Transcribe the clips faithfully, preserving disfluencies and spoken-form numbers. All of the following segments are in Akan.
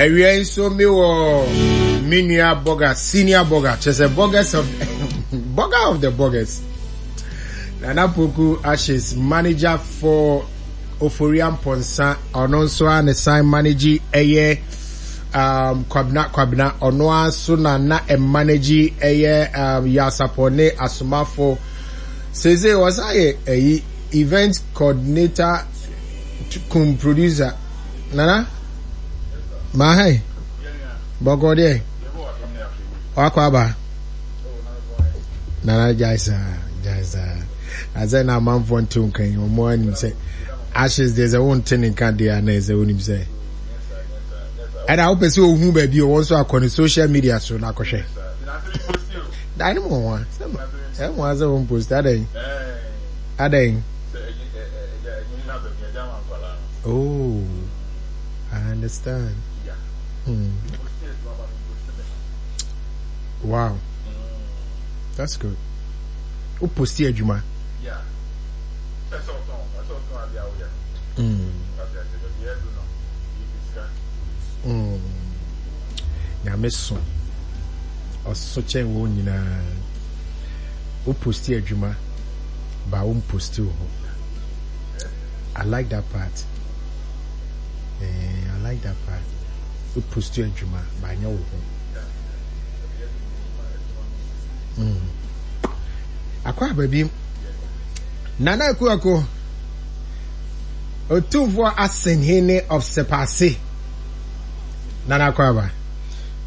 Awia yi nso mi wɔ me nua bɔga, senior bɔga, kyerɛ sɛ bɔgas of bɔga of the bɔgas. Nana Poku Ashes, manager for Ofori Amponsah, ɔno nso a ne san manage ɛyɛ um, Kwabena Kwabena, ɔno ara nso na na ɛmanage ɛyɛ um, Yasapɔ ne Asomafo. Seesei ɔsan yɛ ɛyi event coordinator kum producer. Nana, maa ha yi, bɔkɔ deɛ, wakɔ aba. Nana gyae saa, gyae saa. Asɛ na amanfoɔ nte wo nka yi, wɔn anim sɛ ashes deɛ sɛ wonte ne nka deɛ a na ɛsɛ wonim sɛ ɛna wopɛ sɛ ohu baabi ɔwɔ nso akɔ ne social media so na akɔhwɛ. Dan no mu wɔn a, ɛmu asɛ wɔn post adɛn adɛn. Oh, I understand. Hmm. Wow. That's good. Wo posti adwuma. Mm. Mm. Nyame so. Ɔso kyɛn wɔn nyinaa. Wo posti adwuma ba wo posti wɔ hɔ. I like that part. Eh, I like that part. Wo posti adwuma ba nyɛ wo ho. Mm. Akɔ aba bi. Nana Akuako, Otumfoɔ Asenhene of Sepase. Nana akɔ aba.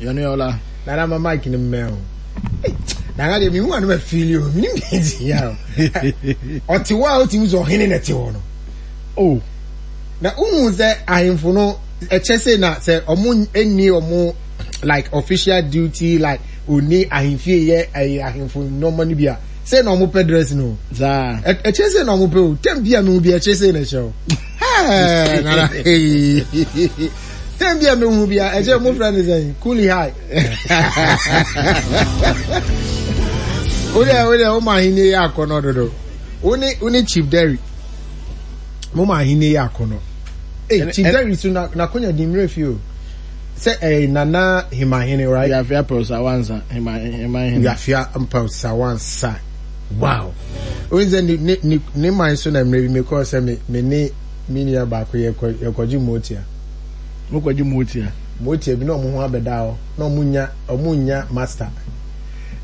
Yɛne ɔla. Nana ma mic no mmɛn o. Nana deɛ mehu ano ma fili o. Menim deɛ nti ya o. Ɔte hɔ a wotumi sɛ ɔhene na ɛte hɔ no. Oh. Na wohu sɛ ahemfo no ɛkyɛ sɛ na sɛ ɔmo nni ɔmo like official duty like oni ahemfie yɛ ɛyɛ ahemfo nneɛma no bi a sɛ na ɔmo pɛ dress no. Saa. Ɛkyɛ sɛ na ɔmo pɛ o. Tɛm bi a mehu bi ɛkyɛ sɛ na ɛhyɛ o. Hɛɛ nana tɛm bi a mehu bi a ɛkyɛ mo fɛ ne sɛn kuli high. Wo deɛ wo deɛ wo ma ahenni yɛ akɔnɔ dodo. Wo ne wo ne Chief Derry. Mo ma ahenni yɛ akɔnɔ. Ee Chief Derry so na n'akonya di mmerɛ fi o. Sɛ ɛyɛ Nana Himahene, right? Wiafia Mpɔsawansa Himahene. Wiafia Mpɔsawansa. Wow. Wo sɛ ne ne ne ne man so na mmerɛ bi mekɔɔ sɛ me me ne me nua baako yɛkɔ yɛkɔgye motia. Mokɔgye motia. Motia bi na ɔmo ho abɛda hɔ na ɔmo nya ɔmo nya master.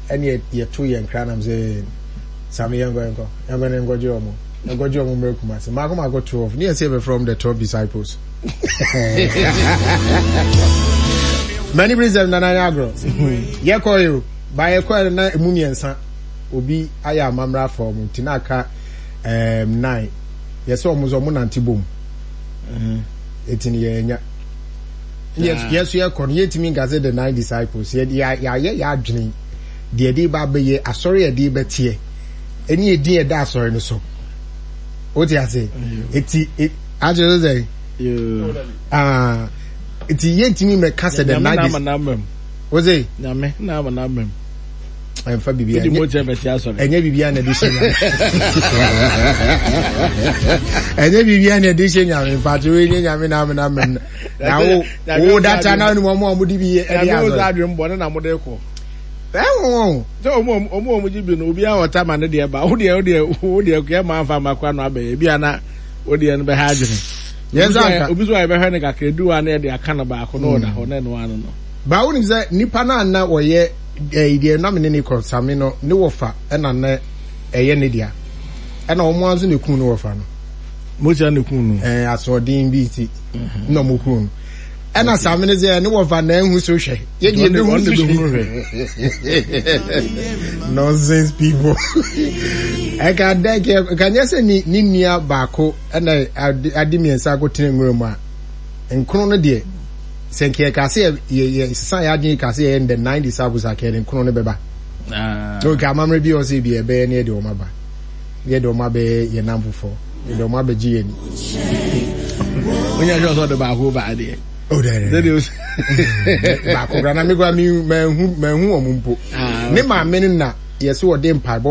Ɛne yɛto yɛn kra nam sɛ Sami yɛnkɔ yɛnkɔ yɛnkɔ ne nkɔgye ɔmo yɛnkɔgye ɔmo mmerɛ Kumasi mako mako twelve ne yɛsɛ yɛbɛfrɛ ɔmo the twelve disciples. Many reasons nana yɛ agorɔ yɛkɔ yi o ba yɛkɔ yɛ na emu mmiɛnsa obi ayɛ amammerɛ afa ɔmo nti na aka ɛɛm nine yɛsɛ ɔmo nso ɔmo nante bom eti no yɛnya yɛso yɛkɔ no yɛntumi nka sɛ the nine disciples yɛ yɛayɛ yɛ adwene deɛ yɛde ba abɛyɛ asɔre yɛde bɛteɛ ɛne edin ɛda asɔre no so o te ase eti akyerɛ sɛ aa eti yɛntumi mɛka sɛ the nine disciples o se nyame na ama na amam ɛnfa bibi ɛnyɛ bibi a na ɛde hyɛ nyame ɛnyɛ bibi a na ɛde hyɛ nyame mpatsɛ wo ɛnyɛ nyame na ama na amam na wo wo data na ɔnum ɔmo a ɔmo de bi yɛ ɛde asɔre nyame adwene bɔ ne na mo de kɔ ɛwɔ wɔn sɛ ɔmo ɔmo ɔmo gye bi no obi a ɔta ma ne deɛ ba wo deɛ wo deɛ wo deɛ kɛ ma nfa ma kora no abɛyɛ ebi ana wo deɛ no bɛha adwene yɛn nsa nka obi so a yɛbɛhwɛ no kakra edu wa na yɛde aka no baako na ɔda hɔ na ɛno ano no. Baa wonim sɛ nipa no a na wɔyɛ ɛyi deɛ na me ne ne kɔ same no ne wɔfa ɛna na ɛyɛ ne dea ɛna wɔn ara nso na ekun ne wɔfa no. Motia na ekun no. Ɛɛ asoɔden bi ti na wɔn kun no ɛna same no sɛ ne wɔfa na ehu so hwɛ yɛ deɛ ebi hu so hwɛ nonsense people ɛka dɛ kɛ ɛka nyɛ sɛ ne ne nua baako ɛna ade ade mmiɛnsa akɔtena nwura mu a nkron no deɛ. Sɛ nka yɛka sɛ yɛ yɛ sesa yɛ adwene ka sɛ yɛyɛ the nine disciples a kɛyɛ nkron no bɛba. Ah. Okay, amammerɛ bi wɔ sɛ bi ɛbɛyɛ ne yɛde wɔn aba. Yɛde wɔn abɛyɛ yɛn nam foforɔ. Yɛde wɔn abɛgye yɛn ni. Onye sɛ ɔsɛ ɔde baako ba adeɛ. Oh, dɛ dɛ. Baako kora na me kora me manhu manhu wɔn mpo. Ah, Ne maame no na yɛsɛ wɔde mpaebɔ